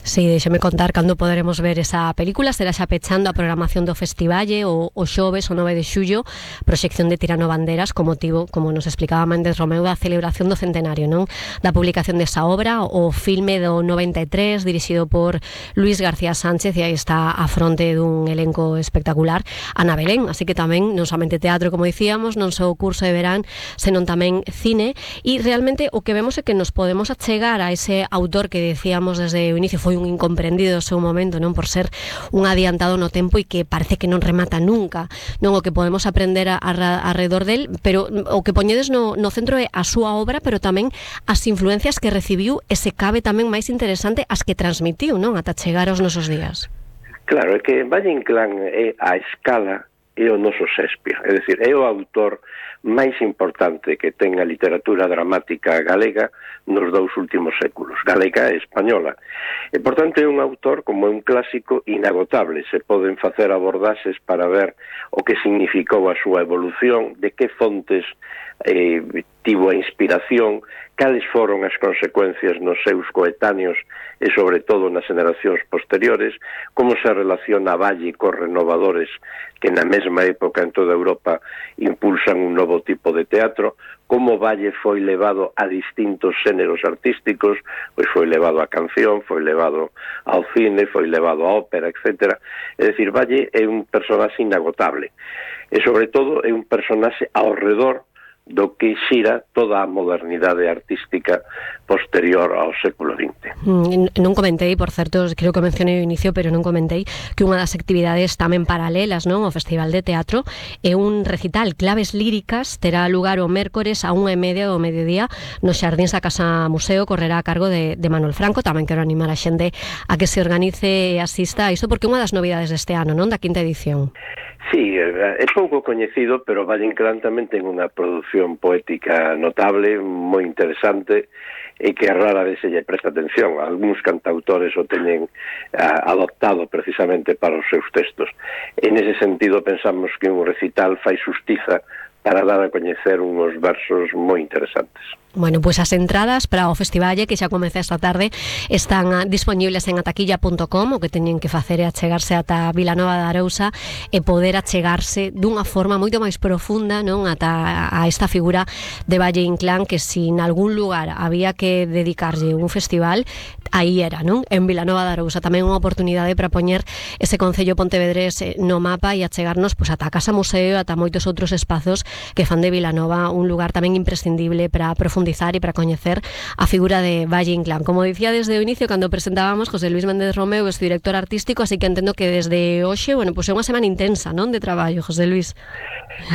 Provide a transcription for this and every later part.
Sí, déxeme contar cando poderemos ver esa película. Será xa pechando a programación do Festivalle o xoves, o 9 de xullo, proxección de Tirano Banderas con motivo, como nos explicaba Méndez Romeu, da celebración do centenario, non? Da publicación desa obra, o filme do 93, dirixido por Luis García Sánchez, e aí está a fronte dun elenco espectacular, Ana Belén, así que tamén non somente teatro, como dicíamos, non só o curso de verán, senón tamén cine, e realmente o que vemos é que nos podemos achegar a ese autor que decíamos desde o inicio foi un incomprendido no seu momento, non, por ser un adiantado no tempo e que parece que non remata nunca, non, o que podemos aprender alrededor del, pero o que poñedes no centro é a súa obra, pero tamén as influencias que recibiu e se cabe tamén máis interesante as que transmitiu, non, ata chegar aos nosos días. Claro, é que Valle Inclán é a escala, é o noso Shakespeare, é dicir, é o autor máis importante que ten a literatura dramática galega nos 2 últimos séculos, galega e española. E, por tanto, é un autor como un clásico inagotable. Se poden facer abordaxes para ver o que significou a súa evolución, de que fontes tivo a inspiración, cales foron as consecuencias nos seus coetáneos e, sobre todo, nas generacións posteriores, como se relaciona Valle cos renovadores que na mesma época en toda Europa impulsan un novo tipo de teatro, como Valle foi levado a distintos xéneros artísticos, pois foi levado á canción, foi levado ao cine, foi levado á ópera, etc. É dicir, Valle é un personaxe inagotable e, sobre todo, é un personaxe ao redor do que xira toda a modernidade artística posterior ao século XX. Non comentei, por certo, creo que mencionei ao inicio, pero non comentei que unha das actividades tamén paralelas, non, ao Festival de Teatro é un recital Claves Líricas, terá lugar o mércores a 1:30 do mediodía nos xardíns da Casa Museo, correrá a cargo de Manuel Franco. Tamén quero animar a xente a que se organice e asista a isto, porque é unha das novidades deste ano, non, da quinta edición. Sí, é pouco coñecido, pero Valle Inclán tamén ten unha produción poética notable, moi interesante, e que rara vez se lle presta atención. Algúns cantautores o teñen adoptado precisamente para os seus textos. En ese sentido, pensamos que un recital fai xustiza para dar a coñecer unhos versos moi interesantes. Bueno, pois as entradas para o Festivalle, que xa comeza esta tarde, están disponibles en ataquilla.com. O que teñen que facer é achegarse ata Vilanova de Arousa e poder achegarse dunha forma moito máis profunda, non, ata a esta figura de Valle Inclán, que si en algún lugar había que dedicarlle un festival, aí era, non? En Vilanova de Arousa. Tamén unha oportunidade para poñer ese concello pontevedrés no mapa e achegarnos pois ata a Casa Museo, ata moitos outros espazos que fan de Vilanova un lugar tamén imprescindible para profundizar e para coñecer a figura de Valle Inclán. Como dicía desde o inicio, cando presentábamos, José Luis Méndez Romeu é o director artístico, así que entendo que desde hoxe, bueno, pois é unha semana intensa, non, de traballo, José Luis?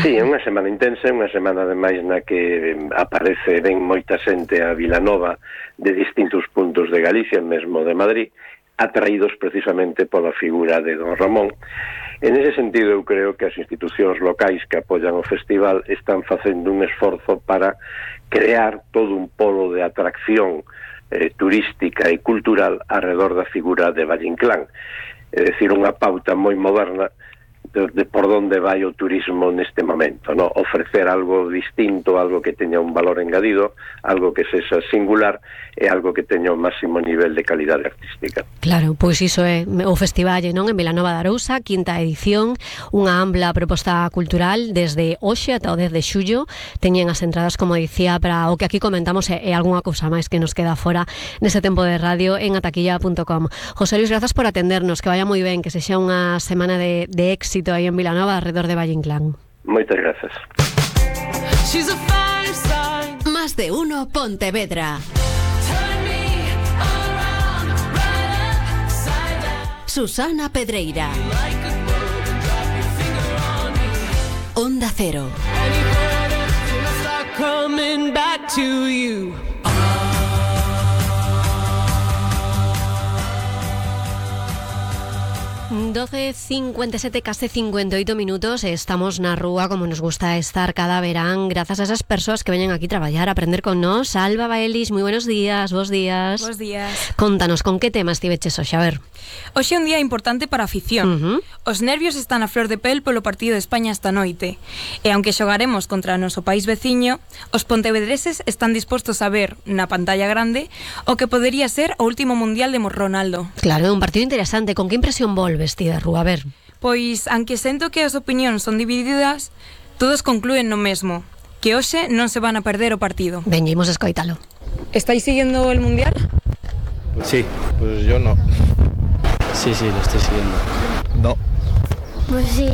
Sí, é unha semana intensa, unha semana ademais na que aparece ben moita xente a Vilanova de distintos puntos de Galicia, mesmo de Madrid, atraídos precisamente pola figura de don Ramón. En ese sentido, eu creo que as institucións locais que apoian o festival están facendo un esforzo para crear todo un polo de atracción turística e cultural alrededor da figura de Valle Inclán. É dicir, unha pauta moi moderna de por onde vai o turismo neste momento, ¿no? Ofrecer algo distinto, algo que teña un valor engadido, algo que sexa singular e algo que teña un máximo nivel de calidade artística. Claro, pois iso é o Festivalle, non, en Vilanova de Arousa, quinta edición, unha ampla proposta cultural desde hoxe ata o 10 de xullo. Teñen as entradas, como dicía, para o que aquí comentamos e algunha cousa máis que nos queda fora nese tempo de radio en ataquilla.com. José Luis, grazas por atendernos, que vaya moi ben, que sexa unha semana de éxito aí en Vilanova, alrededor de Valle Inclán. Moitas grazas. Más de uno Pontevedra. Susana Pedreira. Onda Cero. 12:57, casi 58 minutos. Estamos na rúa como nos gusta estar cada verán, gracias a esas persoas que veñen aquí traballar, a aprender con nós. Alba Baelis, moi buenos días, bos días. Bos días. Contanos, con que tema estiveches hoxe? A ver. Hoxe é un día importante para a afición. Os nervios están a flor de pel polo partido de España esta noite. E aunque xogaremos contra o noso país veciño, os pontevedreses están dispostos a ver na pantalla grande o que podería ser o último mundial de Ronaldo. Claro, é un partido interesante. Con que impresión volves ti de rúa? A ver. Pois, aunque sento que as opinións son divididas, todos conclúen no mesmo, que hoxe non se van a perder o partido. Veñemos a escoitalo. ¿Estáis siguiendo el mundial? Sí, pues yo no. Sí, lo estoy siguiendo. No. Pues sí.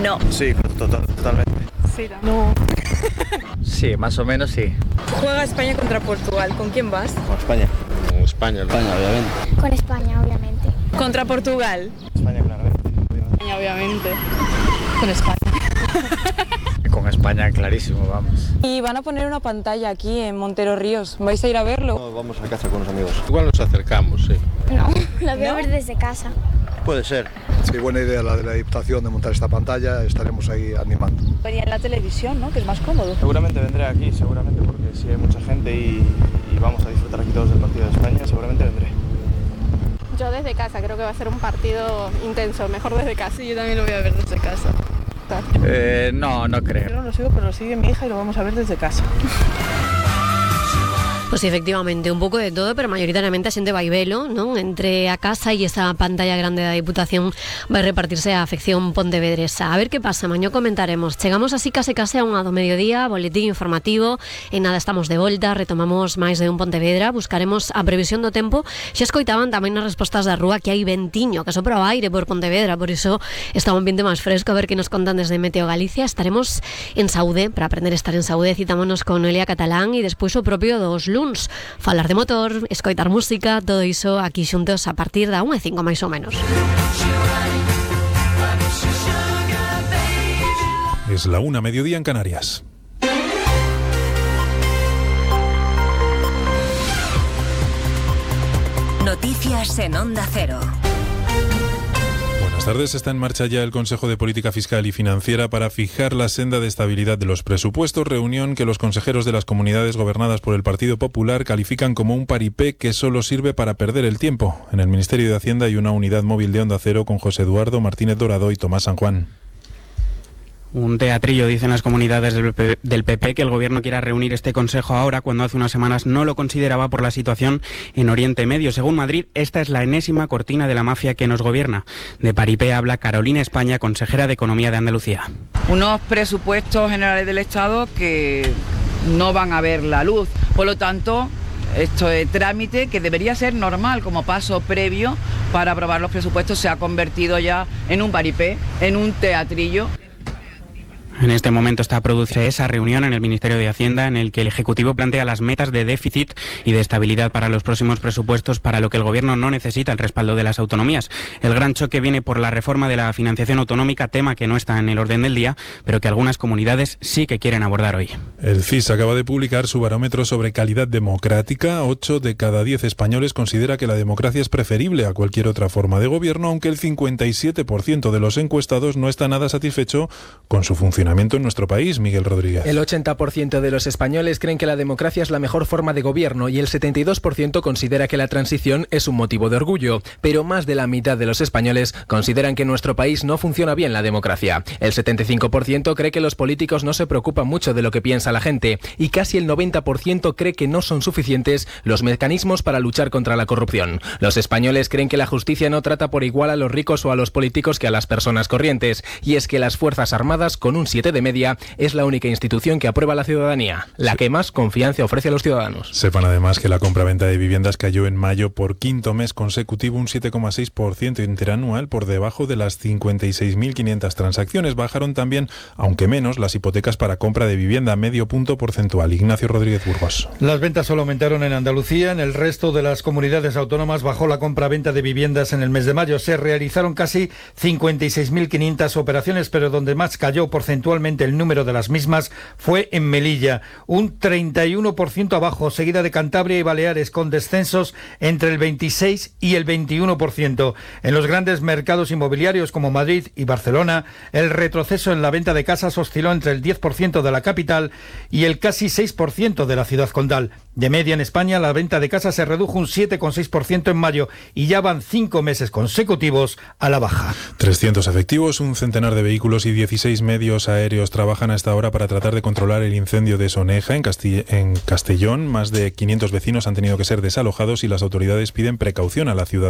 No. Sí, totalmente. Sí, no. Sí, más o menos sí. Juega España contra Portugal. ¿Con quién vas? Con España. Con España, obviamente. Con España, obviamente. Contra Portugal. España, claramente. España, obviamente. Con España. Con España, clarísimo, vamos. Y van a poner una pantalla aquí en Montero Ríos. ¿Vais a ir a verlo? No, vamos a casa con unos amigos. Igual nos acercamos, sí. No, la voy a ver desde casa. Puede ser. Sí, buena idea la de la Diputación de montar esta pantalla, estaremos ahí animando. Venía en la televisión, ¿no? Que es más cómodo. Seguramente vendré aquí, seguramente, porque si hay mucha gente y vamos a disfrutar aquí todos del partido de España, seguramente vendré. Yo desde casa, creo que va a ser un partido intenso, mejor desde casa. Sí, yo también lo voy a ver desde casa. No creo. Yo no lo sigo, pero lo sigue mi hija y lo vamos a ver desde casa. Pues sí, efectivamente, un pouco de todo, pero mayoritariamente a xente vai velo, non? Entre a casa e esa pantalla grande da Diputación vai repartirse a afección pontevedresa. A ver que pasa, mañó comentaremos. Chegamos así case a unha do mediodía, boletín informativo, e nada, estamos de volta, retomamos máis de un Pontevedra, buscaremos a previsión do tempo. Xa escoitaban tamén nas respostas da rúa que hai ventiño, que sopra o aire por Pontevedra, por iso está un ambiente máis fresco. A ver que nos contan desde Meteo Galicia. Estaremos en Saúde, para aprender a estar en Saúde, citámonos con Noelia Catalán e despois o propio dos luns, falar de motor, escoitar música, todo iso aquí xuntos a partir da 1:05 máis ou menos. Es la 1, mediodía en Canarias. Noticias en Onda Cero. Buenas tardes. Está en marcha ya el Consejo de Política Fiscal y Financiera para fijar la senda de estabilidad de los presupuestos, reunión que los consejeros de las comunidades gobernadas por el Partido Popular califican como un paripé que solo sirve para perder el tiempo. En el Ministerio de Hacienda hay una unidad móvil de Onda Cero con José Eduardo Martínez Dorado y Tomás San Juan. Un teatrillo, dicen las comunidades del PP, que el gobierno quiera reunir este consejo ahora, cuando hace unas semanas no lo consideraba por la situación en Oriente Medio. Según Madrid, esta es la enésima cortina de la mafia que nos gobierna. De paripé habla Carolina España, consejera de Economía de Andalucía. Unos presupuestos generales del Estado que no van a ver la luz. Por lo tanto, esto es trámite que debería ser normal como paso previo para aprobar los presupuestos. Se ha convertido ya en un paripé, en un teatrillo. En este momento está a producirse esa reunión en el Ministerio de Hacienda en el que el Ejecutivo plantea las metas de déficit y de estabilidad para los próximos presupuestos, para lo que el Gobierno no necesita el respaldo de las autonomías. El gran choque viene por la reforma de la financiación autonómica, tema que no está en el orden del día, pero que algunas comunidades sí que quieren abordar hoy. El CIS acaba de publicar su barómetro sobre calidad democrática. 8 de cada 10 españoles considera que la democracia es preferible a cualquier otra forma de gobierno, aunque el 57% de los encuestados no está nada satisfecho con su funcionamiento en nuestro país. Miguel Rodríguez. El 80% de los españoles creen que la democracia es la mejor forma de gobierno y el 72% considera que la transición es un motivo de orgullo, pero más de la mitad de los españoles consideran que en nuestro país no funciona bien la democracia. El 75% cree que los políticos no se preocupan mucho de lo que piensa la gente y casi el 90% cree que no son suficientes los mecanismos para luchar contra la corrupción. Los españoles creen que la justicia no trata por igual a los ricos o a los políticos que a las personas corrientes, y es que las Fuerzas Armadas, con un 7 de media, es la única institución que aprueba la ciudadanía, la que más confianza ofrece a los ciudadanos. Sepan además que la compra-venta de viviendas cayó en mayo por quinto mes consecutivo un 7,6% interanual, por debajo de las 56.500 transacciones. Bajaron también, aunque menos, las hipotecas para compra de vivienda, medio punto porcentual. Ignacio Rodríguez Burgos. Las ventas solo aumentaron en Andalucía. En el resto de las comunidades autónomas bajó la compra-venta de viviendas en el mes de mayo. Se realizaron casi 56.500 operaciones, pero donde más cayó porcentualmente porcentualmente el número de las mismas fue en Melilla, un 31% abajo, seguida de Cantabria y Baleares, con descensos entre el 26 y el 21%. En los grandes mercados inmobiliarios como Madrid y Barcelona, el retroceso en la venta de casas osciló entre el 10% de la capital y el casi 6% de la ciudad condal. De media en España, la venta de casas se redujo un 7,6% en mayo y ya van 5 meses consecutivos a la baja. 300 efectivos, un centenar de vehículos y 16 medios aéreos trabajan a esta hora para tratar de controlar el incendio de Soneja, en Castellón. Más de 500 vecinos han tenido que ser desalojados y las autoridades piden precaución a la ciudadanía.